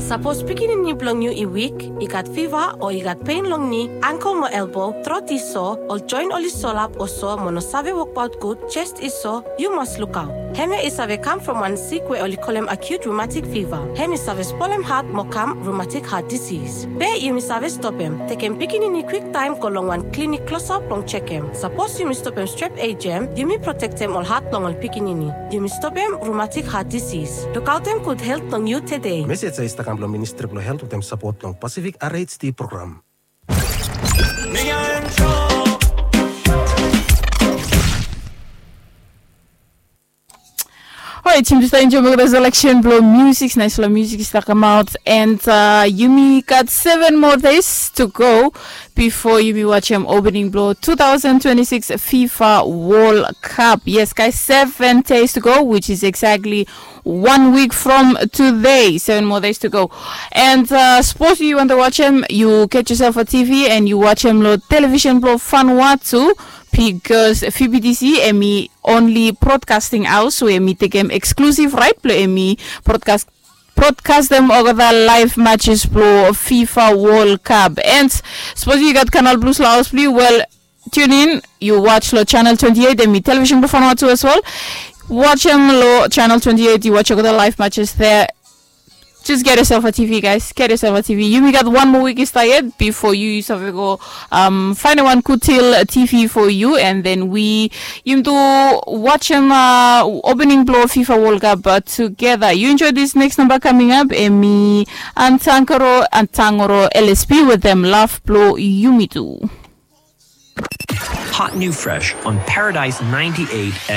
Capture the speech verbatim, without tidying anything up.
Sapos pikinini blong yu i wik, i gat fiva o i gat pen long ni, angkel mo elbo, trot i so, ol joen oli solap o so mo no save wokbaot gud, jes i so, yu mas lukaot. Hemia i save kam from wan sik we oli kolem acute rheumatic fever. Hem i save spolem hat mo kam rheumatic heart disease. Be yumi save stopem, tekem pikinini kwiktaem go long wan klinik klosap blong jekem. Sapos yumi stopem strep ejem, yumi protektem ol hat blong ol pikinini. Yumi stopem rheumatic heart disease. Lukaotem gud helt blong yu tede. Mesej ya i stap kam blong Ministri blong Helt wetem sapot blong Pacific R H D program. Orait, yumi stap enjoem olgeta selection blong music, naispela music i stap kamaot, and uh, yumi gat seven more days to go before yumi wajem opening blong two thousand twenty-six FIFA World Cup. Yes, guys, seven days to go, which is exactly one week from today. Seven more days to go. And uh, suppose you want to watch him, you get yourself a T V and you watch him lo television blong Vanuatu, because V B T C em i only broadcasting house, so em i tekem exclusive right blong em i broadcast broadcastem olgeta live matches blong FIFA World Cup. And suppose you gat Canal Plus lo haos blong yu, well, tune in, you watch lo channel twenty-eight, em i television blong Vanuatu as well. Watch em lo channel twenty-eight, you watch olgeta live matches there. Just get yourself a T V, guys. Get yourself a T V. Yumi gat one more week i stap yet before you, you save go um, find one good deal T V for you, and then we yumi tu watch him uh, opening blong FIFA World Cup uh, together. You enjoy this next number coming up. Em i Antangoro, Antangoro L S P with them. Love blong yumi tu. Hot new fresh on Paradise ninety-eight